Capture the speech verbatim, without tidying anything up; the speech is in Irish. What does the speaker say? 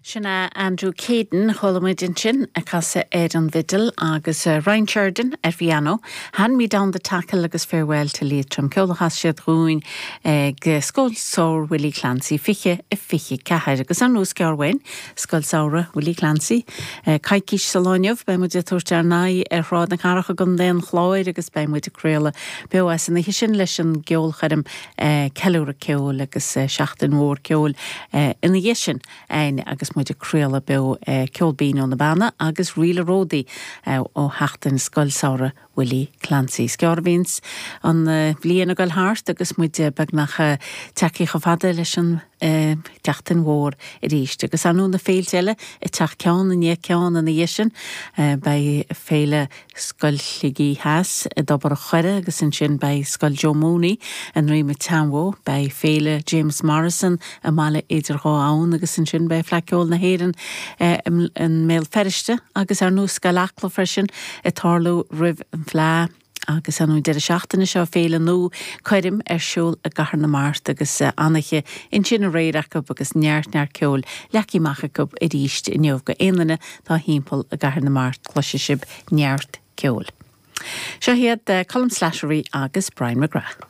Sin é Andrew Caden chuala muid ansin ag casadh ar an bhfidil agus uh, Ryan Sheridan ar piano, Hand Me Down the Tackle agus Farewell to Leitrim ceol a chas siad dúinn ag Scoil Samhraidh Willie Clancy fiche a fiche ceathair agus an núsceirhain Scoil Samhraidh Willie Clancy. Coicís sa lá inniu beidh muid ag tabhairt ár n-aghaidh ar Shráid na Cathrach i gContae an Chláir agus beidh muid ag craoladh beo as an oíche sin leis an gceolchoirm ceiliúradh ceoil agus seachtain mhór ceoil ina dhiaidh sin agus muid ag craoladh beo ceol binn ó na Beanna agus Ríle Ródaí ó sheachtain Scoil Samhraidh Willie Clancy. Scearbhíns an bhliain ag dul thart agus muid beagnach tagtha chomh fada leis an tseachtain mhór arís. Agus anú na féilte eile ag teacht ceann i ndiaidh ceann ina dhiaidh sin beidh féile Scoil Shligigh Theas i dTobar an Choire agus ansin beidh Scoil Joe Mooney i nDroim an tSeanbhó, beidh féile James Morrison i mBaile Idir Dhá Abhann agus ansin beidh Fleadh Cheoil na hÉireann i mBéal Feirste agus ar nós Scoil Acla freisin ag tarlú roimh an Fleadh. Agus an deireadh seachtaine seo féile nua coirm ar siúl i gCathair na Mart agus an-oíche ansin aréir acu agus neart neart ceoil leagtha amach acu arís inniu go aon duine atá timpeall i gCathair na Mart cloisfidh sibh neart ceoil. Seo iad Colm Slattery agus Brian McGrath.